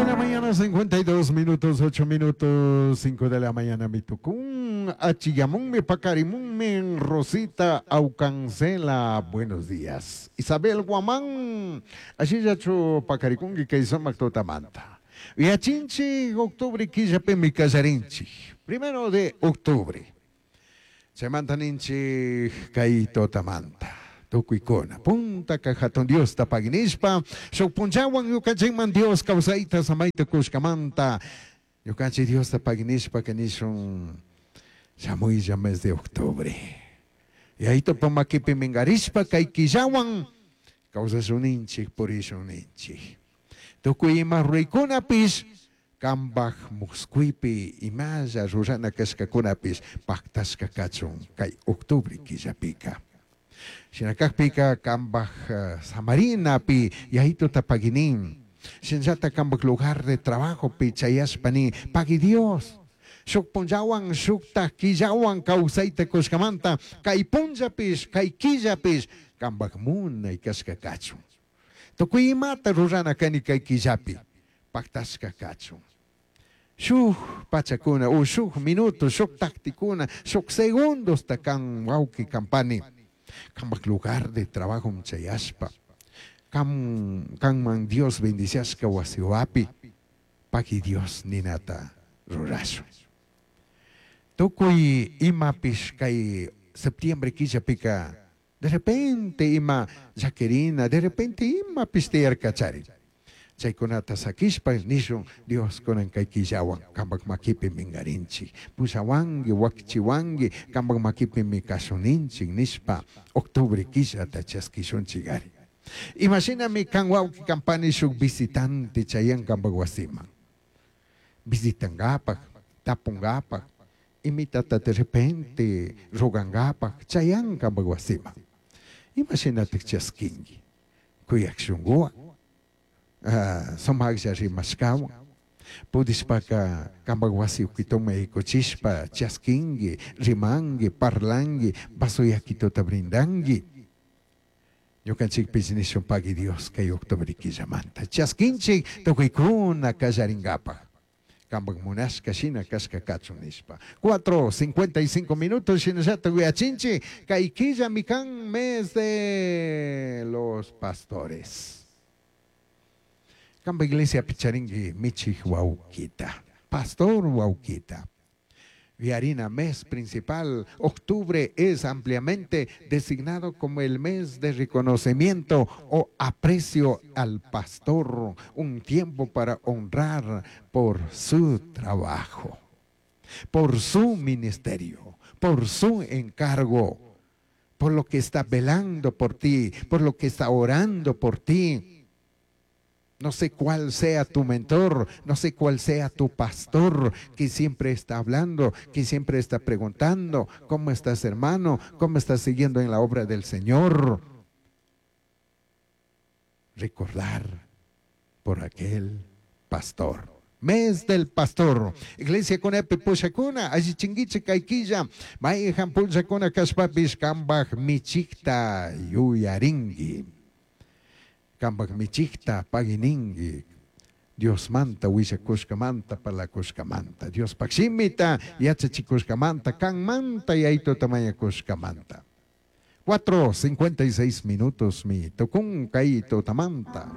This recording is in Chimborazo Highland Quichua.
de la mañana, 52 minutos, 8 minutos, 5 de la mañana, mi tucún, achiyamunmi, pacarimunmi, Rosita Aucancela, buenos días. Isabel Guamán, ashillachu pacaricunqui kay sumak tutamanta. Yachinchik, octubre killapimi kallarinchik, primero de octubre. Chaymanta ninchik kay tutamanta. Tukuykuna puntaka hatun Diosta paginishpa shuk punllawan ñukanchikman Dios kawsayta samayta kushkamanta ñukanchik Diosta paginishpa nishun shamuylla mes de octubre. Yayitupa makipi minkarishpa kay killawan kawsashun purishun ninchik. Tukuy ima ruraykunapish kambaj muskuypi imalla rurana kashkakunapish paktashka kachun kay octubre killapika. Shina kakpika kambaj samarinapi yayituta paginin. Shinallata kambaj lugar de trabajopi chayashpa nin pagui Dios. Shuk punllawan shukta killawan kawsayta kushkamanta kay punllapish kay killapish kambaj munay kashka kachun. Tukuy imata rurana kani kay killapi paktashka kachun. Shuk pachakuna o shuk minuto, shuk taktikuna, shuk segundosta kan wawki kampani. Kambaj lugar de trabajo chayashpa. Kam kanman Dios bendiciashka wasiwapi pagui Dios ninata rurashun. Tukuy imapish kay septiembre killapika de repente ima llaquirina, de repente imapish tiyarkachari. Chaykunata sakishpa nishun Dios kunan kay killawan kambak makipi minkarinchik. Pushawanki, wakichiwanki, kambak makipimi kashuninchik nishpa octubre killata chaskishunchik ari. Imashinami kan wawki kampani shuk visitante chayan kambak wasiman. Visitangapak, tapungapak, imitata de repente rogangapak, chayan kambak wasiman. Imashinatik chaskinki, kuyak shunkuwan, sumaklla rimashkawan, pudishpaka kambak wasi ukituman yaykuchishpa chaskinki, rimanki, parlanki, vaso yakituta brindanki. Ñukanchikpish nishun pagui Dios kay octubre killamanta. Chaskinchik tukuykuna kallarinkapak. Kambak munashka shina kashka kachun nishpa. 4:55 minutos shinallata uyachinchik kay killami kan mes de los pastores. Kamba iglesia picharinki michik wawkita, pastor wawkita. Viarina, mes principal, octubre es ampliamente designado como el mes de reconocimiento o aprecio al pastor, un tiempo para honrar por su trabajo, por su ministerio, por su encargo, por lo que está velando por ti, por lo que está orando por ti. No sé cuál sea tu mentor, no sé cuál sea tu pastor que siempre está hablando, que siempre está preguntando, ¿cómo estás, hermano? ¿Cómo estás siguiendo en la obra del Señor? Recordar por aquel pastor. Mes del pastor. Iglesia kunapi pushakuna, allichinguichik kay killa, mayhan punllakuna kashpapish kambaj michikta yuyarinki. Kambaj michikta pagininki. Diosmanta willakushkamanta parlakushkamanta. Diospaj shimita yachachikushkamanta, kanmanta yayituta mañakushkamanta. 4:56 minutos mi tukun kay tutamanta.